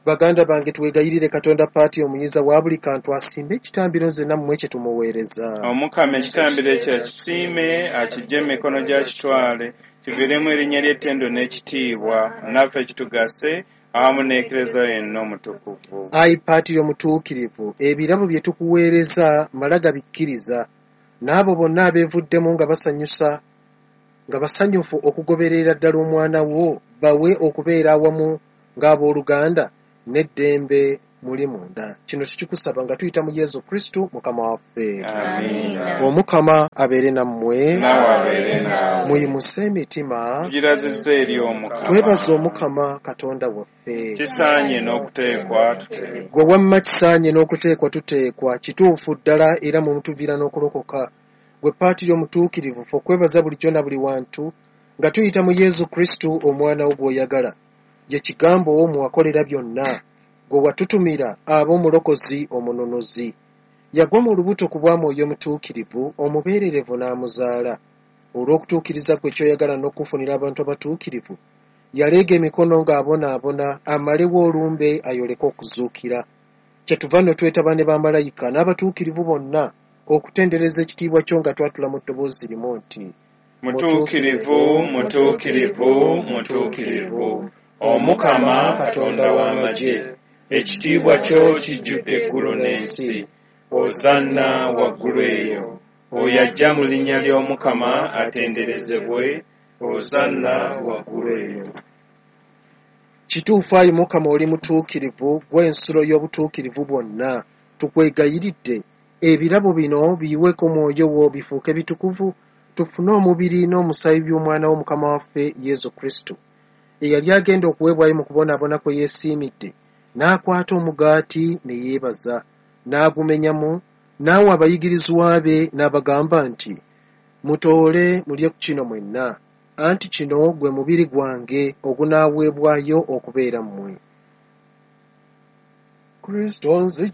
Baganda bange, twegayirire Katonda Paati omuyinza wa buli kantu asimbe ekitambiro nze nammwe kye tumuweereza. Omukama ekitambiro ekyo akisiime, akiggye mu mikono gya kitwale, kiviiremu erinnya ly'ettendo n'ekitiibwa, naffe kitugase awamu n'Eklezia yenna omutukuvu. Ayi Paatiri omutuukirivu, ebirabo bye tukuweereza mala gabikkiriza, n'abo bonna abeevuddemu nga basanyusa nga basanyufu okugoberera ddala omwana wo, bawe okubeera awamu ng'abooluganda n'eddembe muli munda. Kino tukikusaba nga tuyita mu Yezu Kristu Mukama waffe. Amiina. Omukama abeere nammwe. Naawe abeere naawe. Muyimuse emitima. Tugirazizza eri Omukama. Twebaze Omukama Katonda waffe. Kisaanye n'okuteekwa tuteekwa. Gwe wamma kisaanye n'okuteekwa tuteekwa, kituufu ddala era mwe mutuviira n'okulokoka. Gwe Paatiri omutuukirivu, ffe okwebaza bulijjo na buli wantu nga tuyita mu Yezu Kristu omwana wo gw'oyagala. Ye Kigambo wo mwe wakolera byonna, gwe watutumira abe omulokozi omununuzi. Yagwa mu lubuto ku bwa Mwoyo Mutuukirivu, omubeererevu n'amuzaala. Olw'okutuukiriza kwe ky'oyagala n'okufunira abantu abatuukirivu, yaleega emikono ng'abonaabona amalewo olumbe ayoleke okuzuukira. Kyetuva nno twetaba ne bamalayika n'abatuukirivu bonna okutendereza ekitiibwa kyo nga twatula mu ddoboozi limu nti: Mutuukirivu, mutuukirivu, mutuukirivu, Omukama Katonda w'amagye, ekitiibwa kyo kijjudde eggulu n'ensi. Ozanna waggulu eyo. Oyo ajja mu linnya ly'Omukama atenderezebwe. Ozanna waggulu eyo. Kituufu ayi Mukama oli mutuukirivu, ggwe ensulo y'obutuukirivu bwonna. Tukwegayiridde, ebirabo bino biyiweko Mwoyo wo bifuuke bitukuvu, tufune omubiri n'omusaayi by'Omwana wo Mukama waffe Yezu Kristu. Eyali agenda okuweebwayo mu kubonaabona kwe yeesiimidde, n'akwata omugaati ne yeebaza, n'agumenyamu, n'awa abayigirizwa be n'abagamba nti: Mutoole mulye ku kino mwenna, anti kino gwe mubiri gwange ogunaaweebwayo okubeera mmwe. Kristo nzija.